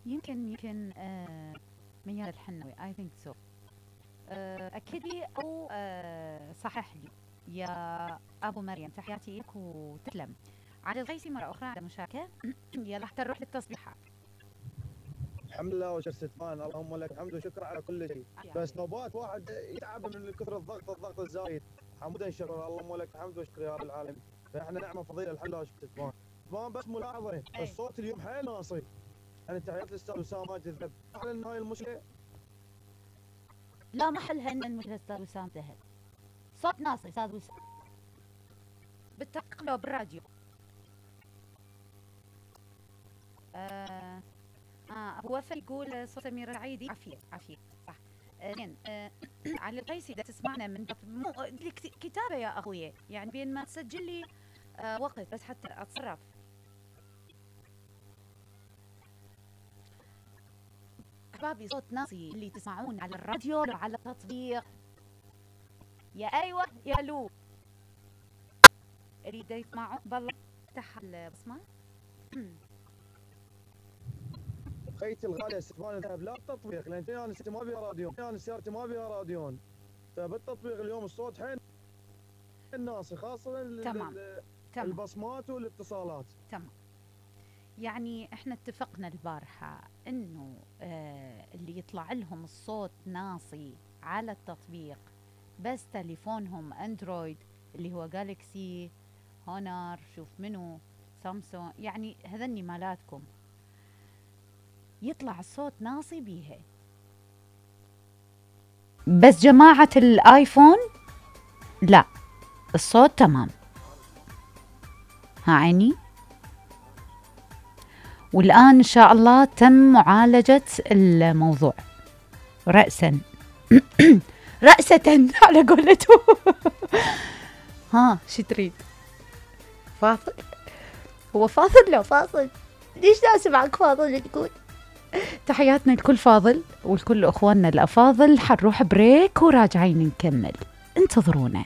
يمكن ميال الحنوي I think so. أكد لي أو صحح لي يا أبو مريم. تحياتي لك وتسلم. علي الغيسي مرة أخرى على المشاركة. يلا حتى نروح للتصبيحات. الحمد لله وشر ستمان، اللهم لك الحمد وشكر على كل شيء. بس نوبات واحد يتعب من كثر الضغط الزايد. حمدا شكرا، اللهم لك الحمد وشكر يا رب العالمين. فاحنا نعمه فضيله الحمد لله وشكر ستمان. ستمان بس ملاحظه الصوت اليوم حيل ناصي. يعني تحيات الاستاذ اسامه ماجد الذهب. اعلن ان هاي المشكله لا محلها ان المشكله استاذ وسام ذهب. صوت ناصي استاذ وسام. بالتحقيق لو بالراديو. هو يقول صوت أميرة العيدي. عافية صح. زين. علي القيسي إذا تسمعنا من كتابة يا أخويا، يعني بين ما تسجل لي وقت بس حتى أتصرف. أحبابي صوت ناصي اللي تسمعون على الراديو أو على التطبيق. يا أيوة يا لو أريد يسمعون بالله. افتح البصمة. خيتي الغاليه ستمان الذهب لا التطبيق، لان انا سيارتي ما بيها راديون، انا سيارتي ما بيها راديون. فبالتطبيق اليوم الصوت حين الناصي خاصه تمام. البصمات والاتصالات. تمام. يعني احنا اتفقنا البارحة انه اللي يطلع لهم الصوت ناصي على التطبيق بس تليفونهم اندرويد اللي هو جالكسي، هونر، شوف منو، سامسونج، يعني هذني مالاتكم يطلع الصوت ناصي بيها. بس جماعة الايفون لا، الصوت تمام. ها عيني. والآن إن شاء الله تم معالجة الموضوع رأسا رأسة على قولته. ها شو تريد؟ فاصل؟ هو فاصل؟ لو فاصل ليش لازم معك فاضل تقول؟ تحياتنا لكل فاضل ولكل أخواننا الأفاضل. حنروح بريك وراجعين نكمل، انتظرونا.